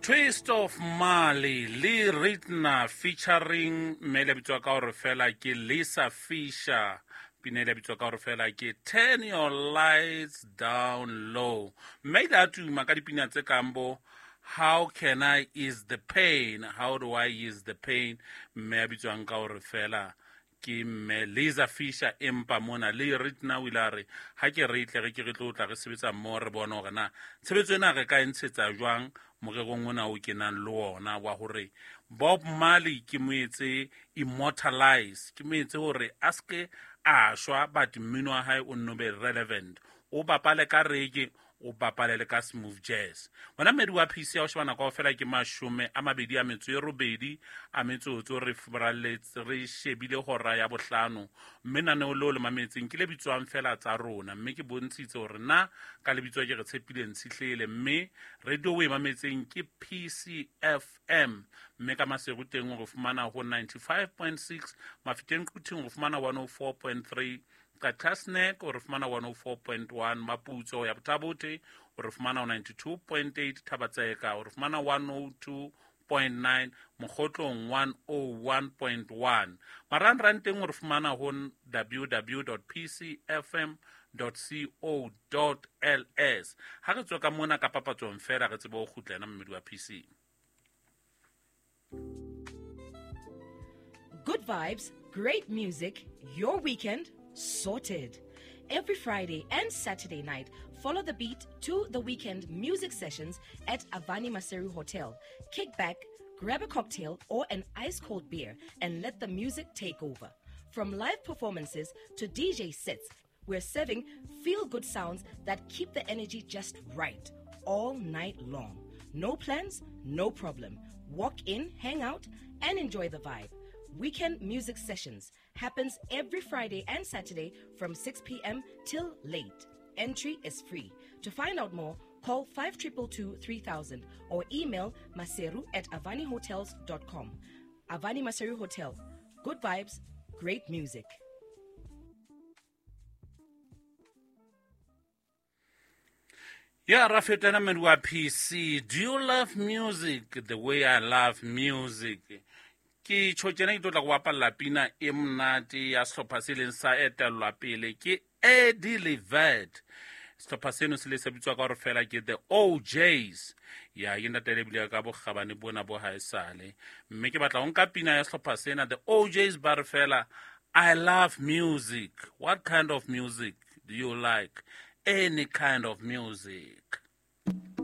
Twist of Mali le Ritna featuring mme le bitswa ka hore fela ke Lisa Fisher. Pina le bitswa ka hore fela ke Turn Your Lights Down Low. Mme ile a tuma ka dipina tse kang bo How Can I Ease the Pain, How Do I Ease the Pain, mme a bitswang ka hore fela ke mme Lisa Fisher. Empa mona le Ritna o ile a re ha ke re tle re ke re tlo tla re sebetsa mmoho, re bone hore na tshebetso ena re ka e ntshetsa jwang morerong ona o kenang le ona wa hore Bob Marley ke mo etse immortalize, ke mo etse hore a seke a shwa, but mmino wa hae o nno be relevant, o bapale ka reggae, o bapale le ka smooth jazz. Wena mmedi wa PC ya o sheba nako fela ke 28 a metsotso, re furaletse re shebile hora ya bohlano, mme naneo leo le mametseng ke le bitswang fela tsa rona, mme ke bontshitse hore na ka lebitso ke re tshepile Ntshihlele, mme radio o e mametseng ke PCFM, mme ka Maseru teng o re fumana ho 95.6, Mafeteng Quthing o fumana 104.3, Qachatsnek o re fumana 104.1, Maputso ya Bothabothe o re fumana 92.8, Thabatseka o re fumana 102.9, Mokgotlong 101.1, marangrang teng o re fumana ho www.pcfm.co.ls. Ha re tswe ka mona ka papatsong fela re tsebe ho kgutla ena mmedi wa PC. Good vibes, great music, your weekend sorted. Every Friday and Saturday night, follow the beat to the weekend music sessions at Avani Maseru Hotel. Kick back, grab a cocktail or an ice cold beer, and let the music take over. From live performances to DJ sets, we're serving feel good sounds that keep the energy just right all night long. No plans, no problem. Walk in, hang out, and enjoy the vibe. Weekend music sessions happens every Friday and Saturday from 6 p.m. till late. Entry is free. To find out more, call 5222 3000 or email maseru@avanihotels.com. Avani Maseru Hotel. Good vibes, great music. Ya rafetana mmedi wa PC, do you love music the way I love music? Ke tjho tjena ke tlo tla go bapalla pina e monate ya sehlopha se leng sa etellwa pele ke Eddie Levert. Sehlopha seno se le se bitswa ka hore fela ke the OJs. Ya ke ntate le bile ka bokgabane bona bo haesale. Mme ke batla ho nka pina ya sehlopha sena the OJs ba re fela I love music. What kind of music do you like? Any kind of music.